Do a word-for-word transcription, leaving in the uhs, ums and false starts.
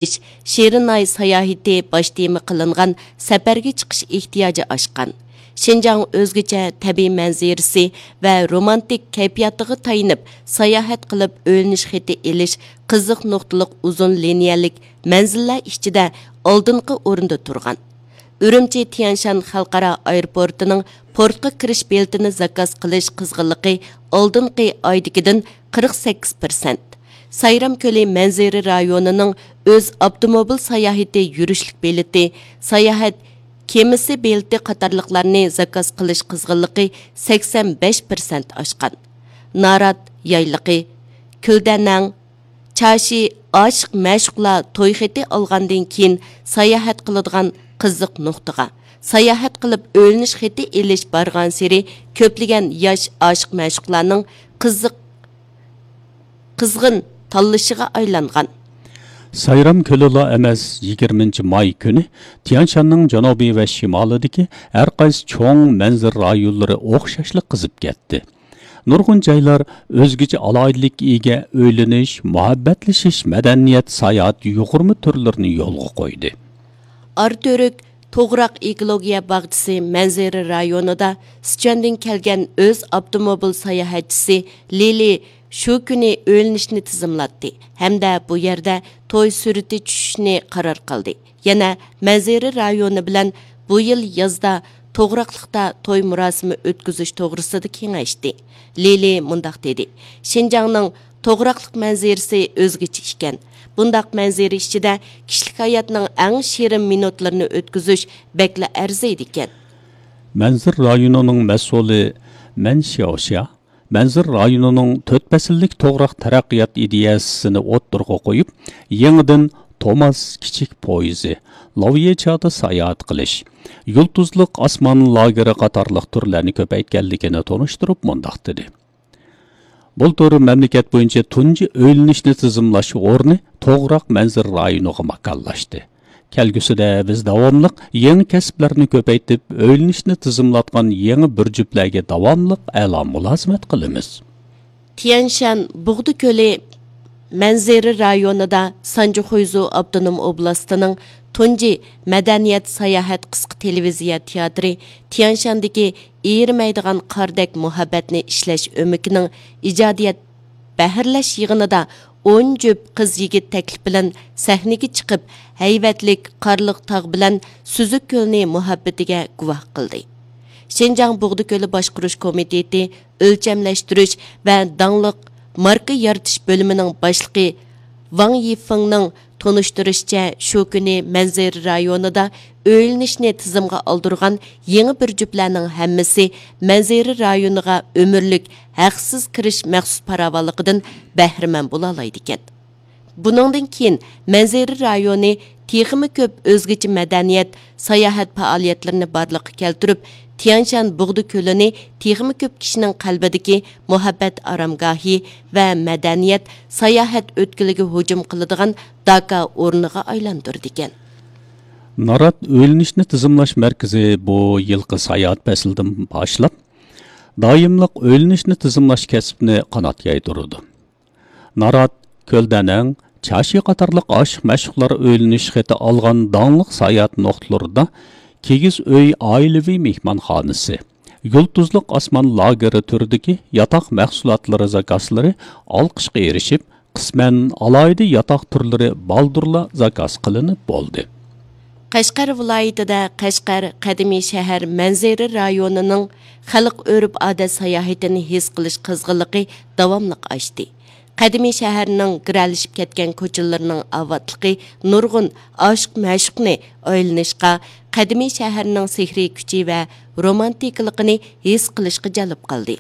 شېرىناي ساياھىتى باش تېما قىلىنغان سەپەرگە چىقىش ئېھتىياجى ئاشقان. شىنجاڭ ئۆزگىچە تەبىئىي مەنزىرىسى ۋە رومانتىك كەيپىياتىغا تايىنىپ، ساياھەت قىلىپ ئۆيلىنىش خېتى ئېلىش قىزىق نۇقتىلىق ئۇزۇن لىنىيەلىك مەنزىللەر ئىچىدە ئالدىنقى ئورۇندا تۇرغان. ئۈرۈمچى تيەنشان خەلقئارا ئايروپورتىنىڭ پورتقا كىرىش بېلىتىنى زاكاز قىلىش قىزغىنلىقى ئالدىنقى ئايدىكىدىن قىرىق سەككىز پىرسەنت. سايرام كۆلى مەنزىرە رايونىنىڭ ئۆز ئاپتوموبىل ساياھىتى يۈرۈشلۈك بېلىتى، ساياھەت كېمىسى بېلىتى قاتارلىقلارنى زاكاز قىلىش قىزغىنلىقى سەكسەن بەش پىرسەنت ئاشقان. نارات يايلىقى، كۈلدەنەڭ، چاشى ئاشىق مەشۇقلار توي خېتى ئالغاندىن كېيىن ساياھەت قىلىدىغان قىزىق نۇقتىغا، ساياھەت قىلىپ ئۆيلىنىش خېتى ئېلىش بارغانسېرى كۆپلىگەن ياش ئاشىق مەشۇقلارنىڭ قىزىق، قىزغىن تاللىشىغا ئايلانغان. سايرام كۆلىلا ئەمەس، يىگىرمىنچى ماي كۈنى تيەنشاننىڭ جەنۇبى ۋە شىمالىدىكى ھەر قايسى چوڭ مەنزىرە رايونلىرى ئوخشاشلا قىزىپ كەتتى. نۇرغۇن جايلار ئۆزگىچە ئالاھىدىلىككە ئىگە ئۆيلىنىش، مۇھەببەتلىشىش، مەدەنىيەت، ساياھەت يۇغۇرما تۈرلىرىنى يولغا قويدى. ئاراتۈرك توغراق ئېكولوگىيە باغچىسى مەنزىرە رايونىدا سىچۈەندىن كەلگەن ئۆز ئاپتوموبىل ساياھەتچىسى لىلى شۇ كۈنى ئۆيلىنىشنى تىزىملاتتى ھەمدە بۇ يەردە توي سۈرىتى چۈشۈشنى قارار قىلدى. يەنە مەنزىرە رايونى بىلەن بۇ يىل يازدا توغراقلىقتا توي مۇراسىمى ئۆتكۈزۈش توغرىسىدا كېڭەشتى. لىلى مۇنداق دېدى، شىنجاڭنىڭ توغراقلىق مەنزىرىسى ئۆزگىچە ئىكەن. بۇنداق مەنزىرە ئىچىدە كىشىلىك ھاياتنىڭ ئەڭ شېرىن مىنۇتلىرىنى ئۆتكۈزۈش بەكلا ئەرزىيدىكەن. مەنزىرە رايونىنىڭ مەسئۇلى مەن شياۋشيا مەنزىرە رايونىنىڭ تۆت پەسىللىك توغراق تەرەققىيات ئىدىيەسىنى ئوتتۇرىغا قويۇپ، يېڭىدىن توماس كىچىك پويىزى، لاۋيېچادا ساياھەت قىلىش، يۇلتۇزلۇق ئاسمان لاگېرى قاتارلىق تۈرلەرنى كۆپەيتكەنلىكىنى تونۇشتۇرۇپ مۇنداق دېدى. بۇلتۇر مەملىكەت بويىچە تۇنجى ئۆيلىنىشنى تىزىملاش ئورنى توغراق مەنزىرە رايونىغا ماكانلاشتى. كەلگۈسىدە بىز داۋاملىق يېڭى كەسىپلەرنى كۆپەيتىپ، ئۆيلىنىشنى تىزىملاتقان يېڭى بىر جۈپلەرگە داۋاملىق ئەلا مۇلازىمەت قىلىمىز. تيەنشان بۇغدا كۆلى مەنزىرە رايونىدا سانجى خۇيزۇ ئاپتونوم ئوبلاستىنىڭ تۇنجى مەدەنىيەت ساياھەت قىسقا تېلېۋىزىيە تىياتىرى تيەنشاندىكى ئېرىمەيدىغان قاردەك مۇھەببەتنى ئىشلەش ئۆمىكىنىڭ ئىجادىيەت بەھرىلەش يىغىنىدا ئون جۈپ قىز-يىگىت تەكلىپ بىلەن سەھنىگە چىقىپ، ھەيۋەتلىك قارلىق تاغ بىلەن سۈزۈك كۆلنى مۇھەببىتىگە گۇۋاھ قىلدى. شىنجاڭ بۇغدا كۆلى باشقۇرۇش كومىتېتى ئۆلچەملەشتۈرۈش ۋە داڭلىق ماركا يارىتىش بۆلۈمىنىڭ باشلىقى ۋاڭ يىفېڭنىڭ تونۇشتۇرۇشىچە، شۇ كۈنى مەنزىرە رايونىدا ئۆيلىنىشنى تىزىمغا ئالدۇرغان يېڭى بىر جۈپلەرنىڭ ھەممىسى مەنزىرە رايونىغا ئۆمۈرلۈك ھەقسىز كىرىش مەخسۇس پاراۋانلىقىدىن بەھرىمەن بولالايدىكەن. بۇنىڭدىن كېيىن مەنزىرە رايونى تېخىمۇ كۆپ ئۆزگىچە مەدەنىيەت، ساياھەت پائالىيەتلىرىنى بارلىققا كەلتۈرۈپ، تيەنشان بۇغدا كۆلىنى تېخىمۇ كۆپ كىشىنىڭ قەلبىدىكى مۇھەببەت ئارامگاھى ۋە مەدەنىيەت، ساياھەت ئۆتكىلىگە ھۇجۇم قىلىدىغان داكا ئورنىغا ئايلاندۇرىدىكەن. نارات ئۆيلىنىشنى تىزىملاش مەركىزى بۇ يىلقى ساياھەت پەسلىدىن باشلاپ، دائىملىق ئۆيلىنىشنى تىزىملاش كەسپىنى قانات يايدۇرىدۇ. نارات، كۆلدەنەڭ، چاشى قاتارلىق ئاشىق-مەشۇقلار ئۆيلىنىش خېتى ئالغان داڭلىق ساياھەت نۇقتىلىرىدا كىگىز ئۆي ئائىلىۋى مېھمانخانىسى، يۇلتۇزلۇق ئاسمان لاگېرى تۈرىدىكى ياتاق مەھسۇلاتلىرى زاكازلىرى ئالقىشقا ئېرىشىپ، قىسمەن ئالاھىدە ياتاق تۈرلىرى بالدۇرلا زاكاز قىلىنىپ بولدى. قەشقەر ۋىلايىتىدە قەشقەر قەدىمىي شەھەر مەنزىرە رايونىنىڭ خەلق ئۆرپ-ئادەت ساياھىتىنى ھېس قىلىش قىزغىنلىقى داۋاملىق ئاشتى. قەدىمىي شەھەرنىڭ گىرەلىشىپ كەتكەن كوچىلىرىنىڭ ئاۋاتلىقى نۇرغۇن ئاشىق-مەشۇقنى ئايلىنىشقا، قەدىمىي شەھەرنىڭ سېھرىي كۈچى ۋە رومانتىكىلىقىنى ھېس قىلىشقا جەلپ قىلدى.